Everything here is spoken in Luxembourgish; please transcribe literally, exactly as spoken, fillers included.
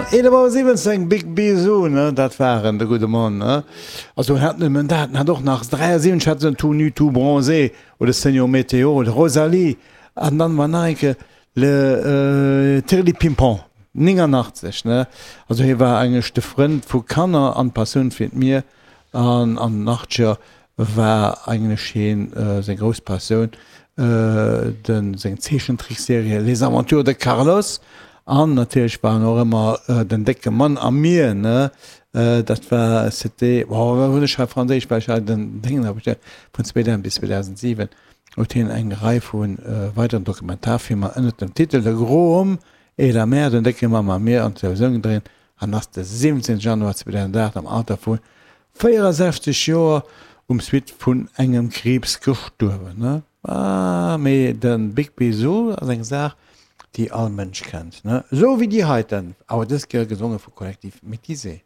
Eelef Auer siwwenzéng, Big Bisou, ne, dat war en, de gudde Mann, ne. Also en hat nëmmen dat, en hat och nach dräiasiwwenzeg hat en Tout nu, tout bronzé oder Señor Météo oder Rosalie an dann war nach eng Kéier Le Tirli-Pimpon, néngannachtzeg, ne. Also hie war eigentlech de Frënd vu Kanner an d'Passioun fir d'Mier an an den Achtzeger war eigentlech hien seng grouss Passioun de seng Zeechentrickserie Les Aventures de Carlos an natierlech war en och ëmmer den décke Mann am Mier, ne. Dat war c'était, oh wat hunn ech hei franséisch, well ech hei den Déngen hab, vun zweedausend bis zweedausentsiwen huet hien eng Rei vu weideren Dokumentarfilmer ënnert dem Titel Le gros homme et la mer, den décke Mann am Mier, an d'Televisioun gedréint an ass de siwwenzéngte Januar zweedausenaacht am Alter vu véierasechzeg Joer um Suite vun engem Kriibs gestuerwen. Mee de Big Bisou ass eng Saach, déi all Mënsch kennt, ne? Esou wéi déi heiten, awer dës Kéier gesonge vu Collectif Métissé.